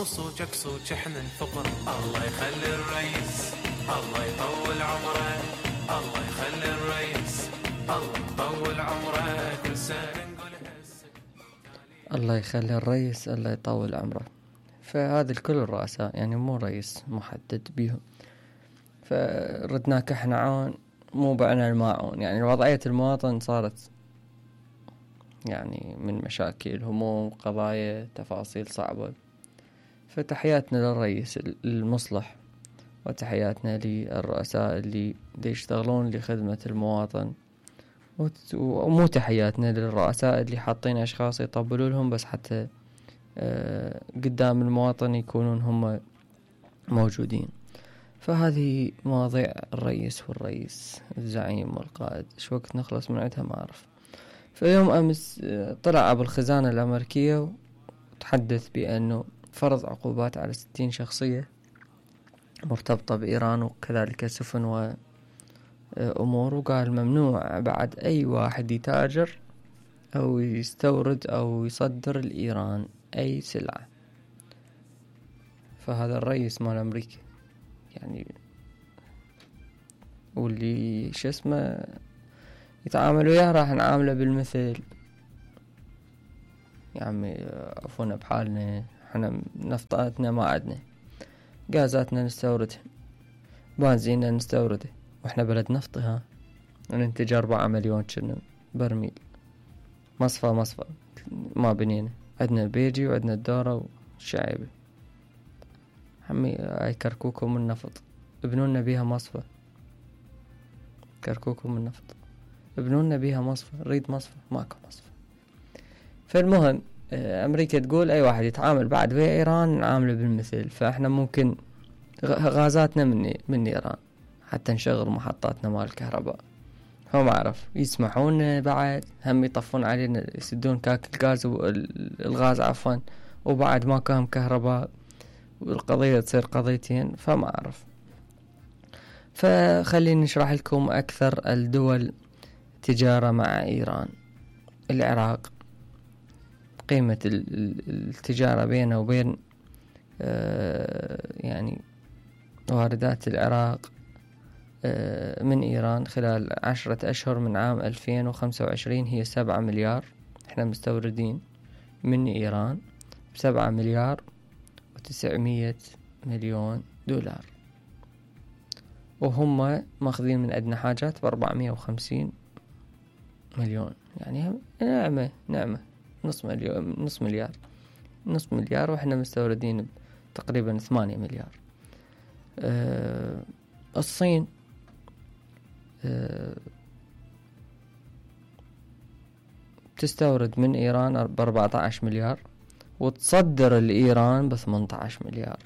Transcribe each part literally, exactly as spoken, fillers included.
مو صوجك صوج احنا الفقر. الله يخلي الرئيس الله يطول عمره، الله يخلي الرئيس الله يطول عمره، كل سنة نقول الله يخلي الرئيس الله يطول عمره. فهذا الكل الرؤساء يعني مو رئيس محدد بيهم. فردناك احنا عون مو بعنا الماعون. يعني وضعية المواطن صارت يعني من مشاكل هموم قضايا تفاصيل صعبة. فتحياتنا للرئيس المصلح وتحياتنا للرؤساء اللي يشتغلون لخدمة المواطن، ومو تحياتنا للرؤساء اللي حاطين أشخاص يطبلوا لهم بس حتى قدام المواطن يكونون هم موجودين. فهذه مواضيع الرئيس والرئيس الزعيم والقائد. شو وقت نخلص من عندها ما أعرف. في يوم أمس طلع أبو الخزانة الأمريكية وتحدث بأنه فرض عقوبات على ستين شخصية مرتبطة بإيران وكذلك سفن وأمور، وقال ممنوع بعد أي واحد يتاجر أو يستورد أو يصدر لإيران أي سلعة. فهذا الرئيس مال أمريكا يعني، واللي شو اسمه يتعامل وياه راح نعامله بالمثل. يا عمي عفونا بحالنا، احنا نفطاتنا ما عدنا، غازاتنا نستوردها، بنزيننا نستورده، واحنا بلد نفطي ها ننتج أربعة مليون كنا برميل. مصفى مصفى ما بنينا، عندنا البيجي وعندنا الدورة والشعيبة. عمي هاي كركوكم من نفط ابنونا بيها مصفى، كركوكم من نفط ابنونا بيها مصفى، نريد مصفى ماكو مصفى. فالمهم أمريكا تقول أي واحد يتعامل بعد ويا إيران نعامله بالمثل. فإحنا ممكن غازاتنا من من إيران حتى نشغل محطاتنا مال الكهرباء، هم عرف يسمحون بعد هم يطفون علينا يسدون كاك الغاز الغاز عفوا، وبعد ما كان كهرباء والقضية تصير قضيتين. فما أعرف. فخليني نشرح لكم أكثر الدول تجارة مع إيران. العراق قيمة التجارة بينه وبين يعني واردات العراق من إيران خلال عشرة أشهر من عام ألفين وخمسة وعشرين هي سبعة مليار. احنا مستوردين من إيران بسبعة مليار وتسعمية مليون دولار، وهم ماخذين من عندنا حاجات بأربعمية وخمسين مليون. يعني نعمة نعمة نص مليون نص مليار نص مليار وإحنا مستوردين تقريبا ثمانية مليار. أه الصين أه تستورد من إيران بأربعة عشر مليار وتصدر لإيران بثمانية عشر مليار.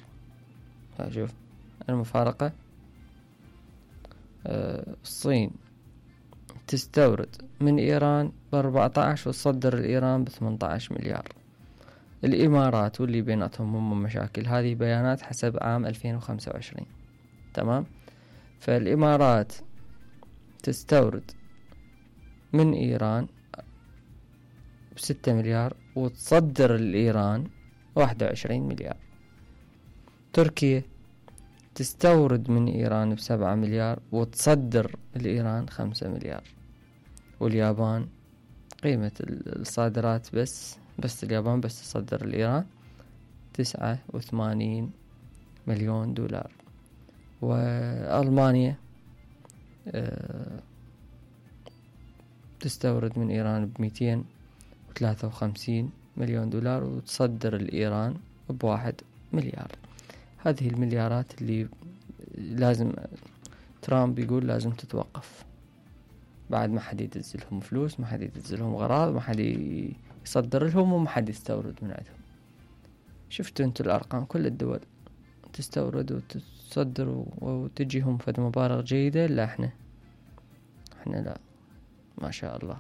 شوف المفارقة. أه الصين تستورد من إيران بأربعة عشر وتصدر لإيران بثمانية عشر مليار. الإمارات واللي بيناتهم هم مشاكل. هذه بيانات حسب عام ألفين وخمسة وعشرين. تمام. فالإمارات تستورد من إيران بستة مليار وتصدر لإيران واحد وعشرين مليار. تركيا تستورد من إيران بسبعة مليار وتصدر لإيران خمسة مليار. واليابان قيمة الصادرات بس بس اليابان بس تصدر لإيران تسعة وثمانين مليون دولار. وألمانيا أه تستورد من إيران بمئتين وثلاثة وخمسين مليون دولار وتصدر لإيران بواحد مليار. هذه المليارات اللي لازم ترامب يقول لازم تتوقف. بعد ما حد يدزلهم فلوس، ما حد يدزلهم غراض، ما حد يصدر لهم، وما حد يستورد من عندهم. شفتوا انتوا الأرقام، كل الدول تستورد وتصدر وتجيهم فد مبالغ جيدة. لا احنا احنا لا ما شاء الله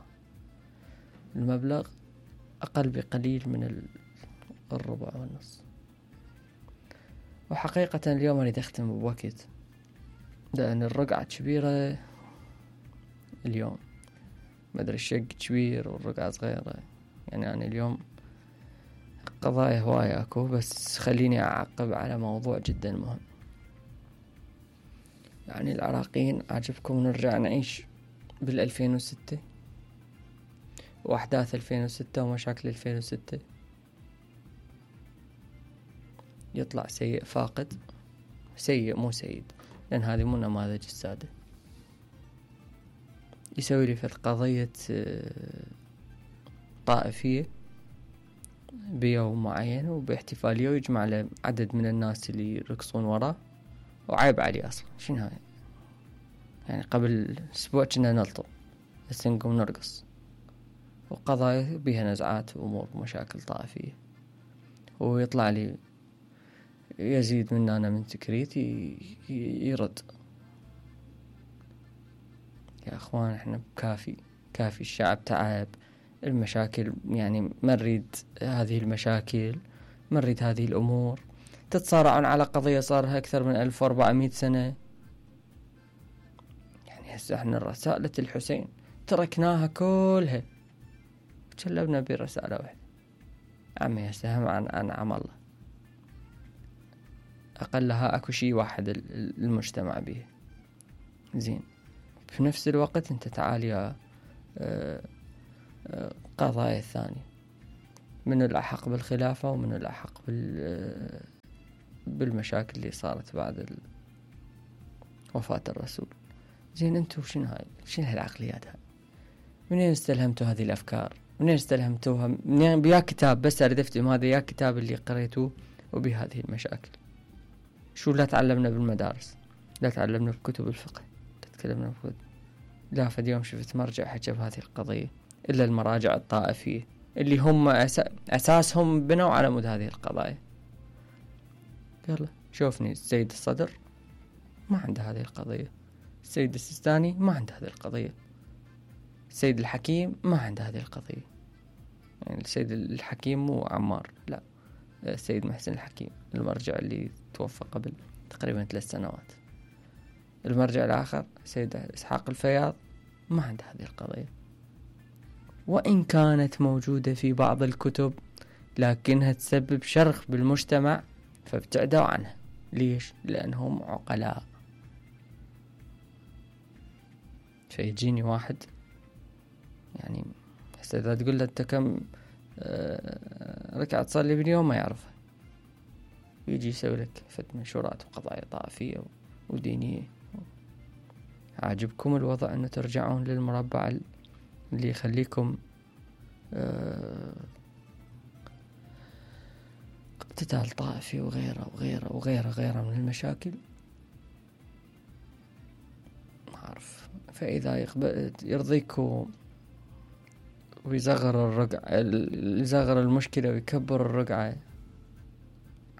المبلغ أقل بقليل من الربع والنص. وحقيقة اليوم أريد أختم بوقت لأن الرقعة كبيرة اليوم، ما أدري الشق كبير والرقعة صغيرة. يعني أنا اليوم قضايا هواية اكو، بس خليني اعقب على موضوع جدا مهم. يعني العراقيين عجبكم نرجع نعيش بالألفين وستة واحداث ألفين وستة ومشاكل ألفين وستة، يطلع سيء فاقد، سيء مو سيد، لان هذه مو نماذج السادة. يسوي لي في قضية طائفية بيوم معين وباحتفالية ويجمع له عدد من الناس اللي يرقصون وراه، وعيب عليه اصلا. شنو هاي؟ يعني قبل اسبوع كنا نلطم، بس نقوم نرقص، وقضايا بيها نزعات وامور ومشاكل طائفية. ويطلع لي يزيد مننا من تكريت يرد. يا اخوان احنا كافي كافي، الشعب تعب، المشاكل يعني ما نريد هذه المشاكل، ما نريد هذه الامور. تتصارعون على قضية صارها اكثر من ألف وأربعمية سنة. يعني هسه احنا رسالة الحسين تركناها كلها وتشلبنا برسالة واحدة. عمي هسه هم عن عن عم الله اقلها اكو شي واحد المجتمع به زين. في نفس الوقت انت تعال يا قضايا الثانية، منو الأحق بالخلافة ومنو الأحق بال بالمشاكل اللي صارت بعد وفاة الرسول. زين انتو شنو هاي؟ شنو هالعقليات هاي؟ منين استلهمتوا هذه الأفكار؟ منين استلهمتوها؟ منين بيا كتاب؟ بس أريد أفتهم هذا يا كتاب اللي قريتوه وبهذه المشاكل. شو لا تعلمنا بالمدارس؟ لا تعلمنا بكتب الفقه؟ لا تكلمنا بكتب؟ لا فد يوم شفت مرجع حكى بهذه القضية إلا المراجع الطائفية اللي هم أسا... أساسهم بنوا على مود هذه القضايا. يلا شوفني السيد الصدر ما عنده هذه القضية، السيد السيستاني ما عنده هذه القضية، السيد الحكيم ما عنده هذه القضية. يعني السيد الحكيم مو عمار، لا، السيد محسن الحكيم المرجع اللي توفى قبل تقريبا ثلاث سنوات. المرجع الآخر سيد إسحاق الفياض ما عنده هذه القضية، وإن كانت موجودة في بعض الكتب لكنها تسبب شرخ بالمجتمع فابتعدوا عنها. ليش؟ لأنهم عقلاء. فيجيني واحد يعني هسه إذا تقول له أنت كم ركعة تصلي باليوم ما يعرفها، يجي يسوي لك فت منشورات وقضايا طائفية ودينية. عاجبكم الوضع أنه ترجعون للمربع اللي يخليكم اقتتال طائفي وغيره وغيره وغيره غيره من المشاكل؟ ما أعرف. فإذا يقبل يرضيكم ويصغر الرقعة، يصغر المشكلة ويكبر الرقعة،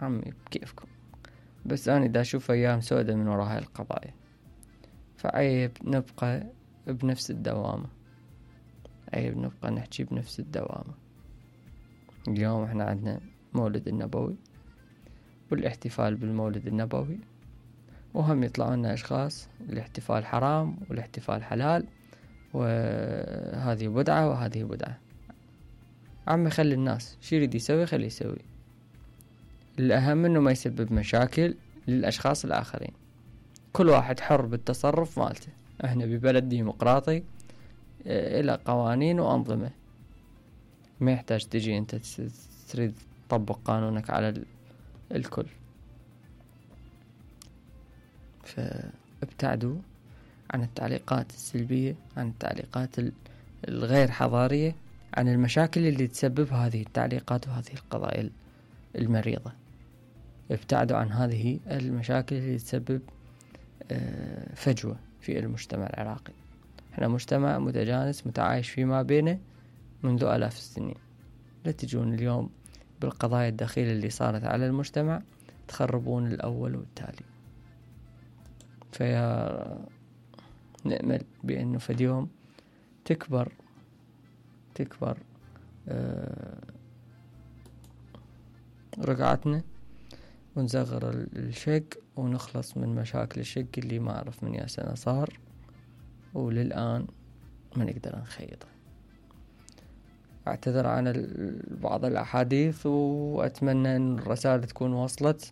عمي بكيفكم. بس أنا دا أشوف أيام سودة من وراء هاي القضايا، فعيب نبقى بنفس الدوامة، عيب نبقى نحكي بنفس الدوامة. اليوم احنا عندنا مولد النبوي والاحتفال بالمولد النبوي، وهم يطلعوا لنا أشخاص الاحتفال حرام والاحتفال حلال، وهذه بدعة وهذه بدعة. عمي خلي الناس شي يريد يسوي خلي يسوي، الأهم انه ما يسبب مشاكل للأشخاص الآخرين. كل واحد حر بالتصرف مالته. احنا ببلد ديمقراطي الى قوانين وأنظمة، ما يحتاج تجي انت تريد تطبق قانونك على الكل. فابتعدوا عن التعليقات السلبية، عن التعليقات الغير حضارية، عن المشاكل اللي تسبب هذه التعليقات وهذه القضايا المريضة. ابتعدوا عن هذه المشاكل اللي تسبب فجوة في المجتمع العراقي. احنا مجتمع متجانس متعايش فيما بينه منذ آلاف السنين. لا تجون اليوم بالقضايا الدخيلة اللي صارت على المجتمع تخربون الأول والتالي. فيا نأمل بأنه في اليوم تكبر تكبر آه رقعتنا ونصغر الشق ونخلص من مشاكل الشق اللي ما أعرف من يا سنة صار وللآن ما نقدر نخيطه. اعتذر عن بعض الأحاديث، وأتمنى أن الرسالة تكون وصلت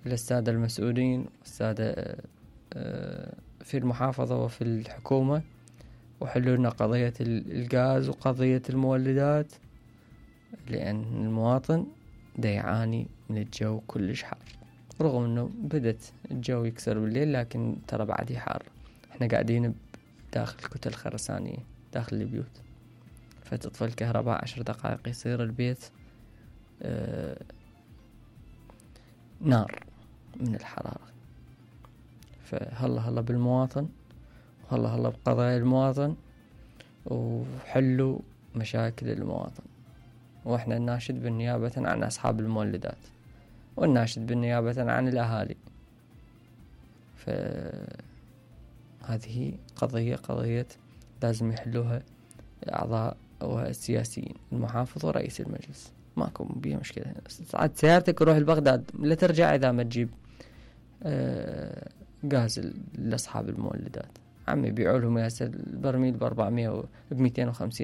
للسادة المسؤولين والسادة في المحافظة وفي الحكومة، وحلوا لنا قضية الغاز وقضية المولدات، لأن المواطن دا يعاني من الجو كلش حار، رغم أنه بدت الجو يكسر بالليل لكن ترى بعد حار. احنا قاعدين داخل كتل خرسانية داخل البيوت، فتطفى الكهرباء عشر دقائق يصير البيت اه نار من الحرارة. فهلا هلا بالمواطن، وهلا هلا بقضايا المواطن، وحلوا مشاكل المواطن. واحنا نناشد بالنيابة عن أصحاب المولدات، ونناشد بالنيابة عن الأهالي. فهذه قضية قضية لازم يحلوها أعضاء والسياسيين، المحافظ ورئيس المجلس، ماكو بيها مشكلة. ساعات سيارتك وروح لبغداد لا ترجع إذا ما تجيب آه غاز لأصحاب المولدات. عمي بيعوا لهم ياسر البرميل بأربعمية وبميتين وخمسين